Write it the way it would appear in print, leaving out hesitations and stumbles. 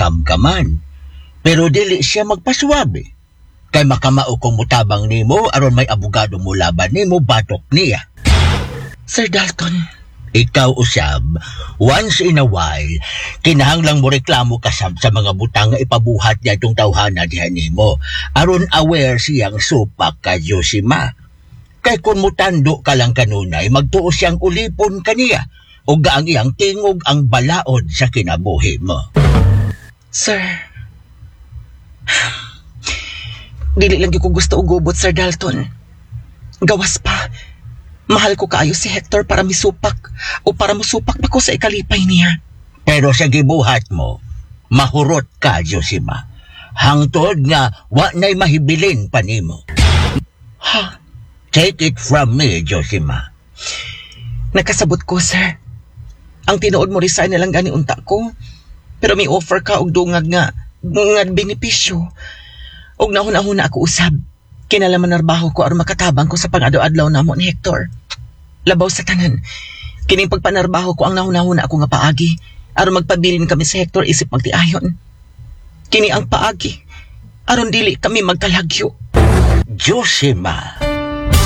Welcome ka man. Pero dili siya magpaswabe. Kay makamao kung mutabang nimo aron may abogado mo laban nimo batok niya. Sir Dalton, Ikaw usab, once in a while, kinahanglang mo reklamo ka sab sa mga butang nga ipabuhat niya itong tawhana diha nimo. Aron aware siyang supak ka, Josima. Kay kung mutando ka lang kanunay, magtuo siyang ulipon kaniya o gaang iyang tingog ang balaod sa kinabuhi mo. Sir. Dili lang gyud ko gusto og gubot, Sir Dalton. Gawas pa. Mahal ko kaayo si Hector para misupak o para musupak pa ko sa ikalipay niya. Pero sa gibuhat mo, mahurot ka, Josima. Hangtod nga wa na'y mahibilin pa nimo. Ha? Take it from me, Josima. Nakasabot ko, sir. Ang tinuod mo, resign na lang gani unta ko. Pero may offer ka og dungag nga nga benepisyo. Og nahuna-huna ako usab. Kinalaman narbaho ko aron makatabang ko sa pang-adlaw-adlaw namo ni Hector. Labaw sa tanan. Kining pagpanarbaho ko ang nahuna-huna ako nga paagi aron magpabilin kami sa Hector isip magtiayon. Kini ang paagi aron dili kami magkalagyo. Josima.